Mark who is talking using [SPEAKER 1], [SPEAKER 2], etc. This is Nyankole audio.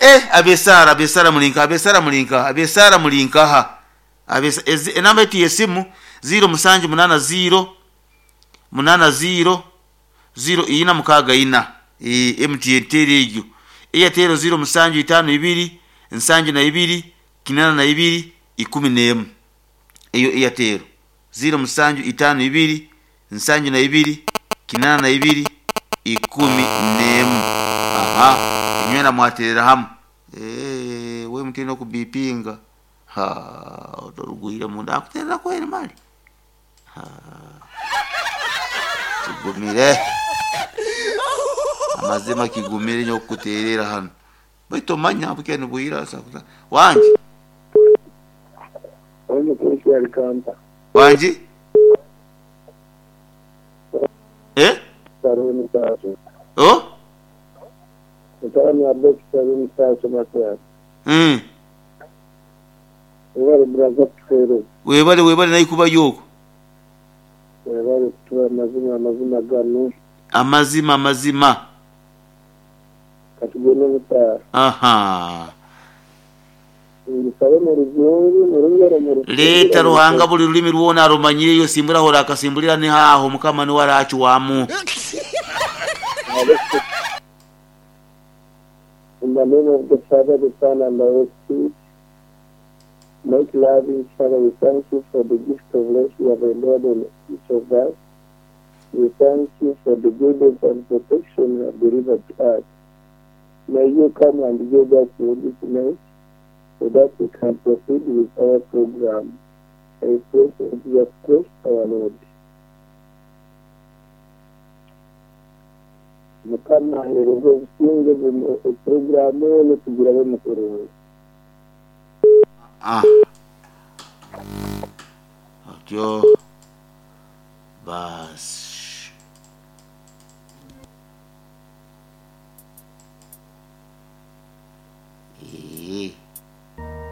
[SPEAKER 1] Eh, ab'esaara ab'esaara muri nkaha ab'esaara muri nkaha ab'esaara muri nkaha Ab'esa- ezi- enamba yaitu y'esimu ziiro musanju munaana ziiro munaana ziiro ziiro ina mukaaga ina Eh, MTN teera egyo Airtel ziiro musanju itaano ibiri nsanju na ibiri kinaana na ibiri ikumi n'emu Eyo Airtel ziiro musanju itaano ibiri nsanju na ibiri kinaana na ibiri 11. Aha, inywena mwaterera hamu. Eeh, we mutine okubipinga. Ha, otorugwire munda akuterera kweri mali. Ha. Kigumire. Amazima kigumire nyo okukuterera hanu. Baitu omanya bukya nibwira sakuta. Wangi. Wangi. Eh? Oh? Mm. Webale webale naye kubayo okwo. Amazima amazima. Ahaa. Leeta Ruhanga buli rurimi rwona arumanyire iwe simbura ahu orakasimburira niho aho Mukama niwe aracwamu.
[SPEAKER 2] In the name of the Father, the Son, and the Holy Spirit, most loving Father, we thank you for the gift of life you have endowed on each of us. We thank you for the guidance and protection you have delivered to us. May you come and guide us through this night so that we can proceed with our program. I pray for Jesus Christ our Lord. Mukama aheereze obusingye puroguraamu enu tugirabe kurungi.
[SPEAKER 1] Ah. Otyo baasi. Eeh.